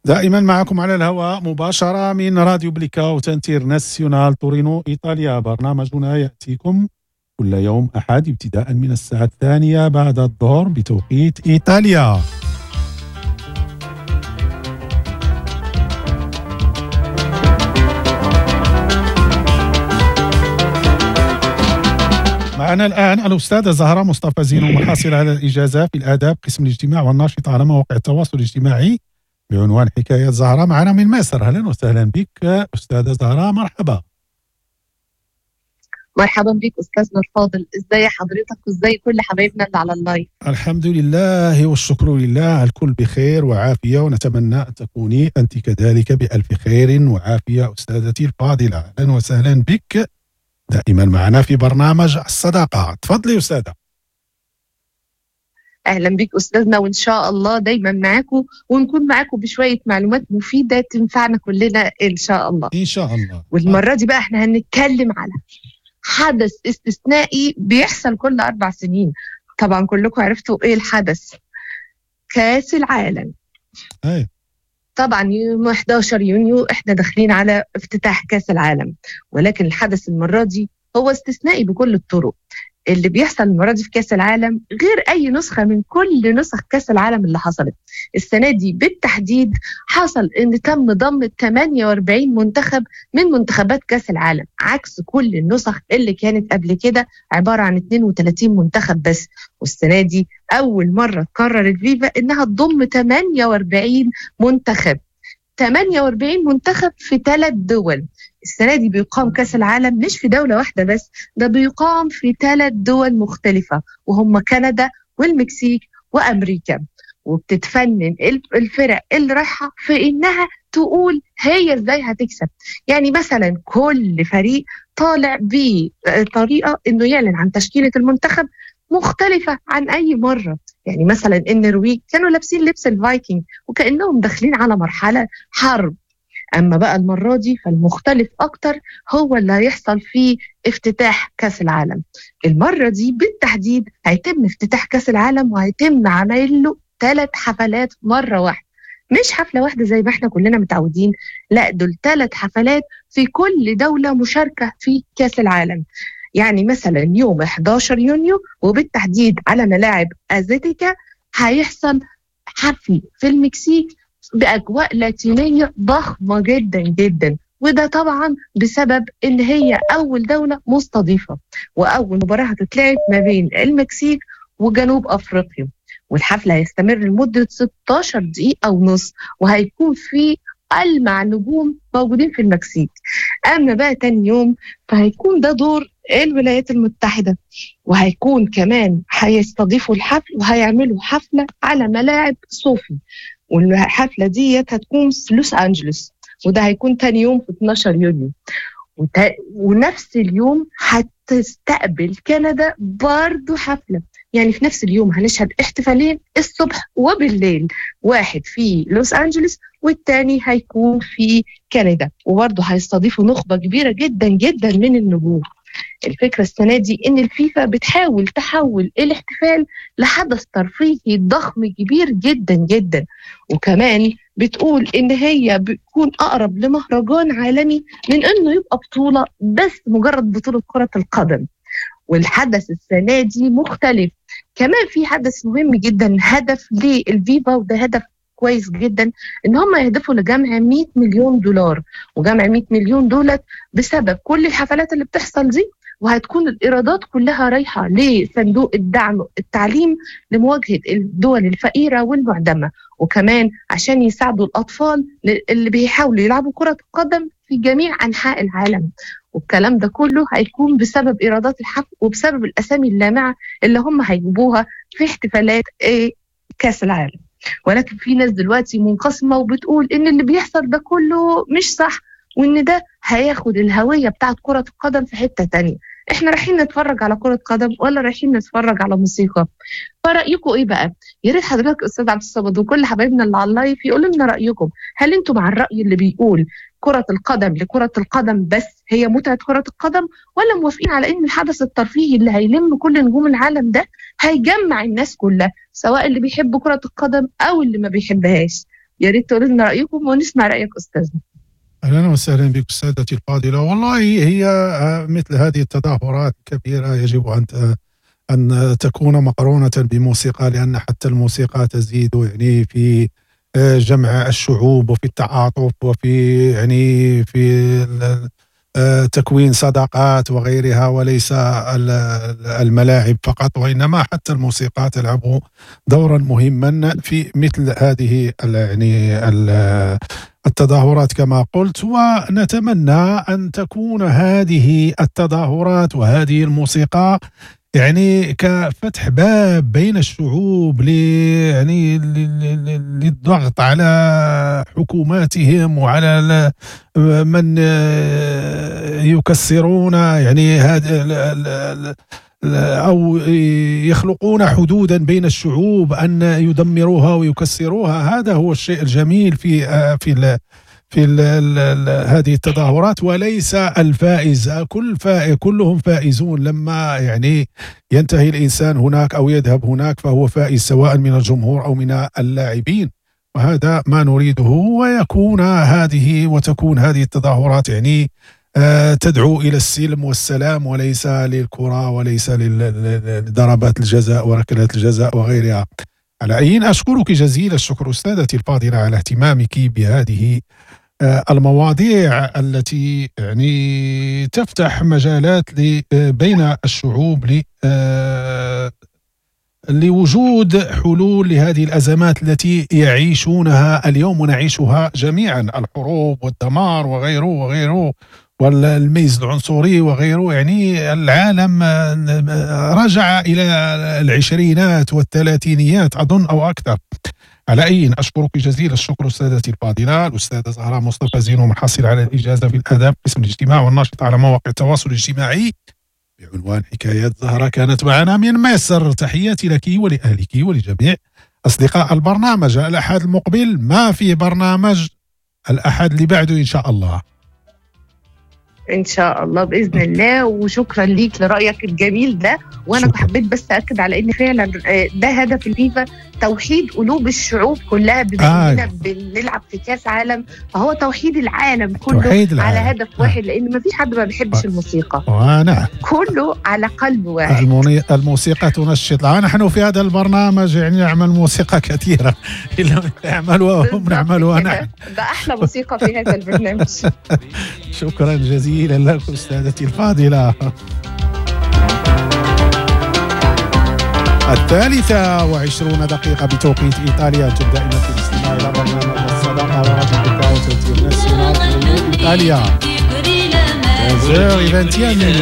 دائما معكم على الهواء مباشرة من راديو بليكاوت انترناسيونال تورينو إيطاليا. برنامجنا يأتيكم كل يوم أحد ابتداء من الساعة 2 بعد الظهر بتوقيت إيطاليا. معنا الآن الأستاذة زهرة مصطفى زينو، محاصلة على الإجازة في الآداب قسم الاجتماع والناشطة على مواقع التواصل الاجتماعي بعنوان حكاية زهرة، معنا من مصر. أهلا وسهلا بك أستاذة زهرة، مرحبا. مرحبا بك أستاذنا الفاضل، ازاي حضرتك وازاي كل حبايبنا اللي على ال live؟ الحمد لله والشكر لله، الكل بخير وعافية، ونتمنى أن تكوني أنت كذلك بألف خير وعافية أستاذتي الفاضلة. أهلا وسهلا بك دائما معنا في برنامج الصداقة. تفضلي أستاذة. أهلا بك أستاذنا، وإن شاء الله دايما معاكم ونكون معاكم بشوية معلومات مفيدة تنفعنا كلنا إن شاء الله. إن شاء الله. والمرة دي بقى احنا هنتكلم على حدث استثنائي بيحصل كل 4 سنين. طبعا كلكم عرفتوا إيه الحدث، كأس العالم. أي. طبعا يوم 11 يونيو احنا داخلين على افتتاح كأس العالم، ولكن الحدث المرة دي هو استثنائي بكل الطرق. اللي بيحصل المرة دي في كأس العالم غير أي نسخة من كل نسخ كأس العالم اللي حصلت السنة دي بالتحديد. حصل إن تم ضم 48 منتخب من منتخبات كأس العالم، عكس كل النسخ اللي كانت قبل كده عبارة عن 32 منتخب بس. والسنة دي أول مرة تقرر الفيفا إنها تضم 48 منتخب، 48 منتخب في 3 دول. السنة دي بيقام كأس العالم مش في دولة واحدة بس، ده بيقام في 3 دول مختلفة، وهم كندا والمكسيك وأمريكا. وبتتفنن الفرق اللي رايحة في إنها تقول هي إزاي هتكسب. يعني مثلا كل فريق طالع بطريقة إنه يعلن عن تشكيلة المنتخب مختلفة عن أي مرة. يعني مثلا النرويج كانوا لابسين لبس الفايكنج وكأنهم داخلين على مرحلة حرب. أما بقى المرة دي فالمختلف أكتر هو اللي هيحصل في افتتاح كأس العالم. المرة دي بالتحديد هيتم افتتاح كأس العالم وهيتم عمل له 3 حفلات مرة واحدة، مش حفلة واحدة زي ما احنا كلنا متعودين، لا دول 3 حفلات في كل دولة مشاركة في كأس العالم. يعني مثلا يوم 11 يونيو وبالتحديد على ملاعب أزتيكا هيحصل حفل في المكسيك بأجواء لاتينية ضخمة جدا جدا، وده طبعا بسبب إن هي أول دولة مستضيفة، وأول مباراة هتتلعب ما بين المكسيك وجنوب أفريقيا. والحفل هيستمر لمدة 16 دقيقة ونص، وهيكون في ألمع نجوم موجودين في المكسيك. أما بقى تاني يوم فهيكون ده دور الولايات المتحدة، وهيكون كمان هيستضيفوا الحفل وهيعملوا حفلة على ملاعب صوفي، والحفلة دي هتكون في لوس أنجلوس، وده هيكون تاني يوم في 12 يونيو. ونفس اليوم هتستقبل كندا برضو حفلة. يعني في نفس اليوم هنشهد احتفالين الصبح وبالليل، واحد في لوس أنجلوس والتاني هيكون في كندا، وبرضه هيستضيفوا نخبة كبيرة جدا جدا من النجوم. الفكرة السنة دي إن الفيفا بتحاول تحول الاحتفال لحدث ترفيهي ضخم كبير جدا جدا، وكمان بتقول إن هي بتكون أقرب لمهرجان عالمي من إنه يبقى بطولة بس مجرد بطولة كرة القدم. والحدث السنة دي مختلف كمان، في حدث مهم جدا، هدف للفيفا، وده هدف كويس جدا، ان هم يهدفوا لجمع 100 مليون دولار، وجمع 100 مليون دولار بسبب كل الحفلات اللي بتحصل دي، وهتكون الإيرادات كلها رايحة لصندوق الدعم التعليم لمواجهة الدول الفقيرة والمعدمة، وكمان عشان يساعدوا الأطفال اللي بيحاولوا يلعبوا كرة القدم في جميع أنحاء العالم. والكلام ده كله هيكون بسبب إيرادات الحفل وبسبب الأسامي اللامعة اللي هم هيجيبوها في احتفالات كأس العالم. ولكن في ناس دلوقتي منقسمة وبتقول إن اللي بيحصل ده كله مش صح، وإن ده هياخد الهوية بتاعت كرة القدم في حتة تانية. إحنا رايحين نتفرج على كرة قدم ولا رايحين نتفرج على موسيقى؟ فرأيكم إيه بقى؟ يا ريت حضرتك أستاذ عبد الصمد وكل حبايبنا اللي على ال live يقولوا لنا رأيكم. هل أنتم مع الرأي اللي بيقول كرة القدم لكرة القدم بس هي متعة كرة القدم، ولا موافقين على إن الحدث الترفيهي اللي هيلم كل نجوم العالم ده هيجمع الناس كلها، سواء اللي بيحب كرة القدم أو اللي ما بيحبهاش؟ يا ريت تقولوا لنا رايكم ونسمع رايك استاذنا. اهلا وسهلا بك استاذتي الفاضلة. والله هي مثل هذه التظاهرات الكبيرة يجب ان تكون مقرونة بموسيقى، لان حتى الموسيقى تزيد يعني في جمع الشعوب وفي التعاطف وفي يعني في تكوين صداقات وغيرها، وليس الملاعب فقط، وإنما حتى الموسيقى تلعب دورا مهما في مثل هذه يعني التظاهرات كما قلت. ونتمنى أن تكون هذه التظاهرات وهذه الموسيقى يعني كفتح باب بين الشعوب يعني للضغط على حكوماتهم وعلى من يكسرون يعني هذا أو يخلقون حدودا بين الشعوب أن يدمروها ويكسروها. هذا هو الشيء الجميل في في في هذه التظاهرات، وليس الفائز، كلهم فائزون. لما يعني ينتهي الإنسان هناك أو يذهب هناك فهو فائز، سواء من الجمهور أو من اللاعبين، وهذا ما نريده. ويكون هذه وتكون هذه التظاهرات يعني تدعو إلى السلم والسلام، وليس للكرة وليس لضربات الجزاء وركلات الجزاء وغيرها. على أي، أشكرك جزيل الشكر أستاذتي الفاضلة على اهتمامك بهذه المواضيع التي يعني تفتح مجالات بين الشعوب لوجود حلول لهذه الأزمات التي يعيشونها اليوم ونعيشها جميعا، الحروب والدمار وغيره وغيره، والميز العنصري وغيره. يعني العالم رجع إلى العشرينات والثلاثينيات أظن أو أكثر. على أي، أشكرك جزيل الشكر أستاذتي الفاضلة الأستاذة زهراء مصطفى زينو، محصل على الإجازة في الآداب قسم الاجتماع والناشطة على مواقع التواصل الاجتماعي بعنوان حكايات زهرة، كانت معنا من مصر. تحياتي لك ولأهلك ولجميع أصدقاء البرنامج. الأحد المقبل ما في برنامج، الأحد اللي بعده إن شاء الله. ان شاء الله باذن الله. وشكرا ليك لرايك الجميل ده. وانا شكرا. حبيت بس اكد على ان فعلا ده هدف الفيفا، توحيد قلوب الشعوب كلها، بما اننا بنلعب في كاس عالم فهو توحيد العالم كله، توحيد العالم على هدف واحد، لان ما فيش حد ما بيحبش الموسيقى. نعم، كله على قلب واحد. الموسيقى تنشط. نحن في هذا البرنامج يعني نعمل موسيقى كثيرة، إلا نعملها هم نعملها نحن. ده احلى موسيقى في هذا البرنامج. شكرا جزيلا لك أستاذتي الفاضلة. 23 بتوقيت إيطاليا. أنتم دائما في الاستماع إلى برنامج الصداقة وراديو إيطاليا. 15h21.